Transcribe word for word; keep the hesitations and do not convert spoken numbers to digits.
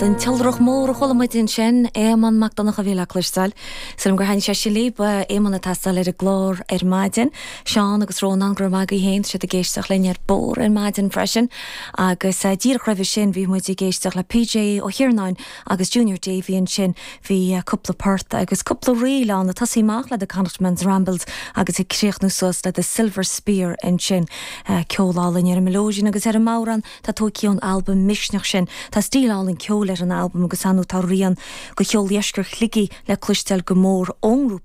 An tIolrach Mór a chuala muid ansin Éamonn Mac Donncha a bhí le cloisteáil. Sílim gur thaithin sé sin libh Éamonn ag taisteal ar an gclár ar maidin. Seán agus Rónán go maith féin siad ag éisteacht linn ar bord ar maidin freisin, agus uh, díreach roimhe sin bhí muid ag éisteacht le PJ Ó hIarnáin agus Junior Davy ansin bhí uh, cúpla port agus cúpla ríl ann ag tosú amach le the Connachtman's Rambles agus ag críochnú suas le the Silver Spear ansin uh, ceol álainn ar an mileoidean agus ar an mbodhrán tá tógtha ón albam Misneach sin Tá stíl álainn ceol ar an albam agus anú tá rian de cheol Dheisceart Shligigh le cloisteáil go mór ón ngrúpa